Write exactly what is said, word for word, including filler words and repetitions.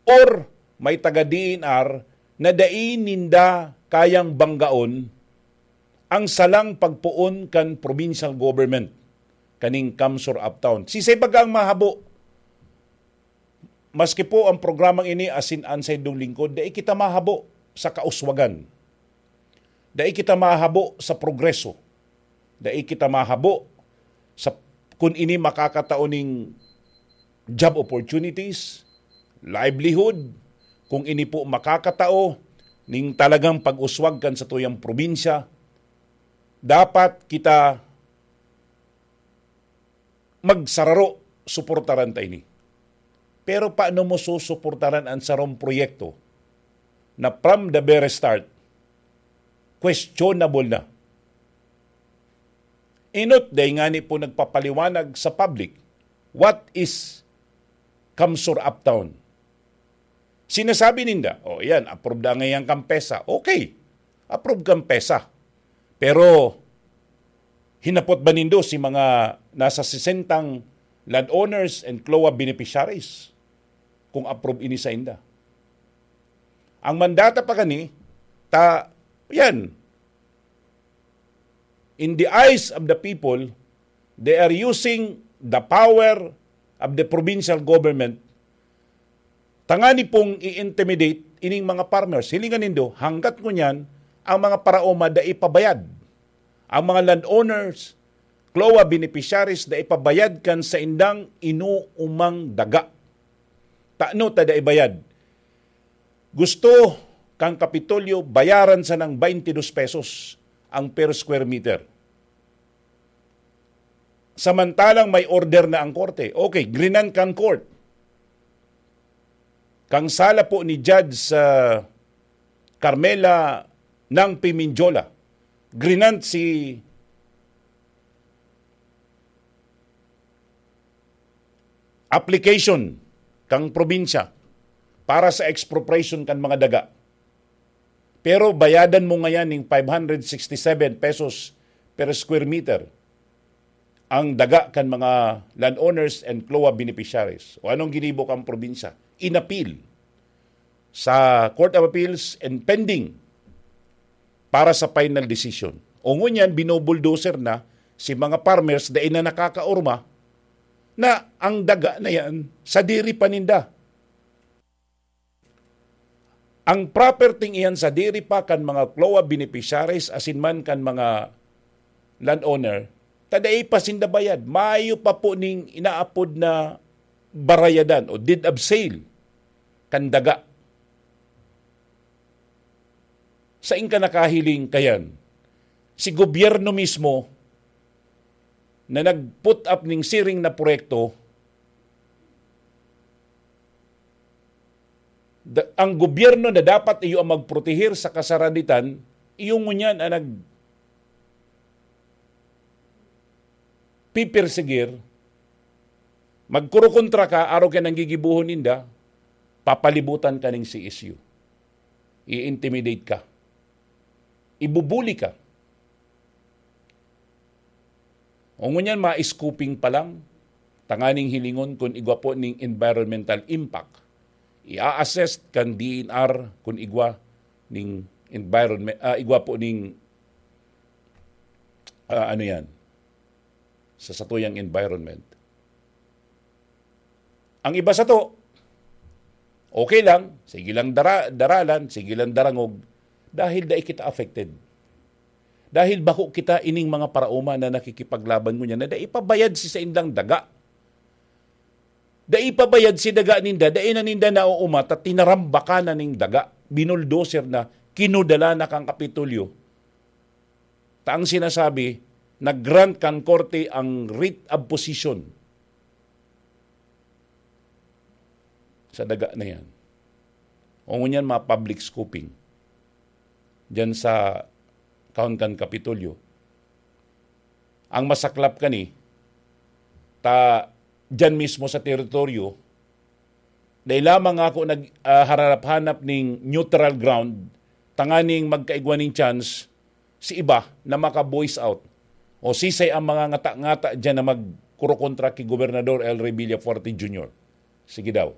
or may taga D N R na dai ninda kayang banggaon ang salang pagpoon kan provincial government kaning CamSur Uptown. Sisay baga ang mahabo? Maski po ang programang ini asin an saindong lingkod, dai kita mahabo sa kauswagan. Dai kita mahabo sa progreso. Dai kita mahabo sa kun ini makakatao ning job opportunities, livelihood, kung ini po makakatao ning talagang pag-uswag kan satuyang probinsya. Dapat kita magsararo, suportaran ta ini. Pero paano mo susuportaran an sarong proyekto na from the very start, questionable na? Enot, dai ngani po nagpapaliwanag sa public, what is CamSur Uptown? Sinasabi ninda, "O, yan, approve na ngayon kan PEZA." Okay, approve kan PEZA. Pero, hinapot ba nindo si mga nasa sesentang landowners and CLOA beneficiaries kung approve ini sainda? Ang mandata pa gani, ta, yan, in the eyes of the people, they are using the power of the provincial government tangani pong i-intimidate ining mga farmers. Hilingan nindo, hanggat ngunyan, ang mga paraoma dai pa bayad. Ang mga landowners, CLOA beneficiaries, dai pa bayad kan saindang inuumang daga. Tano ta dai bayad? Gusto kan Kapitolyo bayaran sanang twenty-dos pesos ang per square meter. Samantalang may order na ang korte. Okay, grinan kan court. Kang sala po ni Judge, ah, Carmela Nangpi Mindiola, grinan si application kang probinsya para sa expropriation kan mga daga. Pero bayadan mo ngayan ning five hundred sixty-seven pesos per square meter ang daga kan mga landowners and CLOA beneficiaries. O anong ginibo kang probinsya? Inapil sa Court of Appeals and pending para sa final decision. O ngunyan, binubulldozer na si mga farmers dai na nakakaorma na ang daga na yan sadiri pa ninda. Ang property iyan sadiri pa kan mga CLOA beneficiaries asin man kan mga landowner, ta dai pa sinda bayad. Mayo pa po ning inaapod na barayadan o deed of sale kan daga. Sain ka nakahiling kayan? Si gobyerno mismo na nag-put up ning siring na proyekto, da-, ang gobyerno na dapat iyo ang magprotehir sa kasaraditan, iyo ngunyan ang nagpipersegir, magkurokontra ka, arog kan gigibohon ninda, papalibutan ka ning C S U. I-intimidate ka. Ibubuli ka. O ngunyan, ma-scooping pa lang, tanganing hilingon kun igwa po ning environmental impact. I-assess kan D N R kun igwa ning environment, ah, igwa po ning, ah, ano yan, sa satuyang environment. Ang iba sato, okay lang, sige lang dara-, daralan, sige lang darangog, dahil dai kita affected. Dahil bako kita ining mga paraoma na nakikipaglaban ngunyan na dai pa bayad si saindang daga. Dai pa bayad si daga ninda, dai na ninda naooma ta tinarambakan na ning daga, binuldoser na, kinudala na kan Kapitolyo. Ta ang sinasabi, nag-grant kan korte ang writ of possession sa daga na yan. O ngunyan, mga public scooping diyan sa kaon kan Kapitolyo. Ang masaklap kani, ta diyan mismo sa teritoryo, dai lamang ako nag, ah, hararap-hanap ning neutral ground, tanganing magkaigwa ning chance si iba na maka-voice out. O sisay ang mga ngata-ngata diyan na magkurokontra ki Gobernador El Rey Villafuerte Junior? Sige daw.